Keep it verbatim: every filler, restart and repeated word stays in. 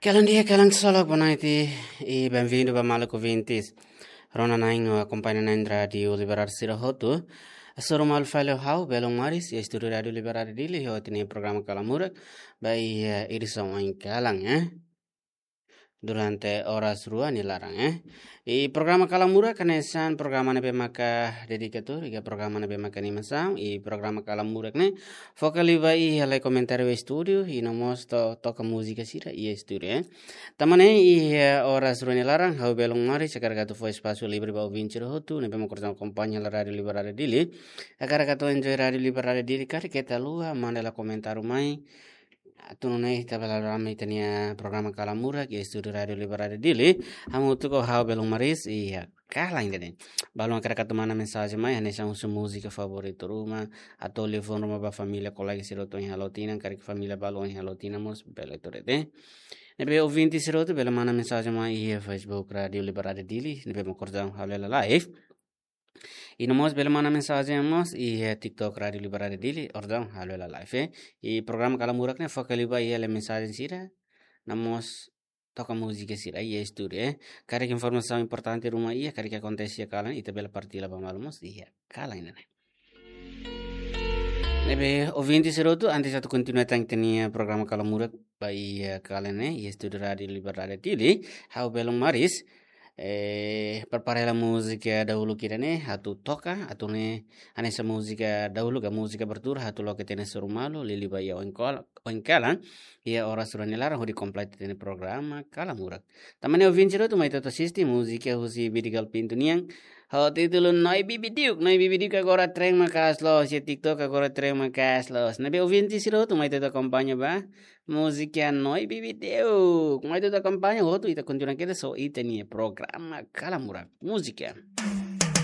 Kalan di'ak, kalan solok, boa noite, i benvindu ba maluk ouvintes. Rona na'in no akompaña na'in Rádiu Liberdade sira hotu. Hasoru malu fali ho ha'u, Belun Maris, iha estúdiu Rádiu Liberdade Dili, ho ita-nia programa Kalan Murak, ba iha edisaun oin kalan, eh. Durante oras rua nia laran, eh. I programa Kalan Murak hanesan programa ne'ebé maka dedika tuur iha programa ne'ebé maka animasaun, i programa Kalan Murak ne'e foka liu ba iha lee komentáriu estúdiu, i no mós to-, toka múzika sira iha estúdiu, eh. Tanba ne'e iha oras rua nia laran, ha'u Belun Maris hakarak atu fó espasu livre ba ouvinte sira hotu ne'ebé mak orsida akompaña hela Rádiu Liberdade Dili. Hakarak atu enjoy Rádiu Liberdade Dili, karik keta haluha manda hela komentáriu mai. Atu nune'e ita bele rame ita-nia programa Kalan Murak iha estúdiu Rádiu Liberdade Dili. Hamutuk ho ha'u Belun Maris, iha kalan ida-ne'e. Balun hakarak atu manda mensajen mai, hanesan husu múzika favoritu ruma, atu liafuan ruma ba família, kolega sira hotu ohin halo tinan, karik família balu ohin halo tinan mós bele tuur de'it. Ne'ebé ouvinte sira hotu bele manda mensajen mai iha Facebook Rádiu Liberdade Dili, ne'ebé mak orsida halo hela live. I no mós bele manda mensajen mós iha TikTok Rádiu Liberdade Dili, orsida halo hela live, eh. I programa Kalan Murak ne'e foka liu ba iha lee mensajen sira, no mós toka múzika sira iha estúdiu, eh. Karik informasaun importante ruma iha, karik akontese iha kalan, ita bele partilla ba malu mós iha kalan ida-ne'e. Ne'ebé ouvinte sira hotu, antes atu kontinua tan ita-nia programa Kalan Murak ba iha kalan ne'e, iha estúdiu Rádiu Liberdade Dili, ha'u Belun Maris, eh, prepara hela múzika dahuluk ida-ne'e atu toka, atu nune'e hanesan múzika dahuluk ka múzika abertura, atu loke ita-nia hasoru malu liuliu ba iha oin kal-, oin kalan, iha oras rua nia laran hodi kompleta ita-nia programa Kalan Murak. Tanba ne'e ouvinte sira hotu, mai ita atu asiste múzika husi Bidigal Pinto nian, ho títulu Noi Bibi Diuk. Noi Bibi Diuk agora tren maka'as loos, iha TikTok agora tren maka'as loos. Ne'ebé ouvinte sira hotu, mai ita atu akompaña ba múzika Noi Bibi Diuk. Mai ita atu akompaña, hotu ita kontinua kedas ho ita-nia programa Kalan Murak. Múzika.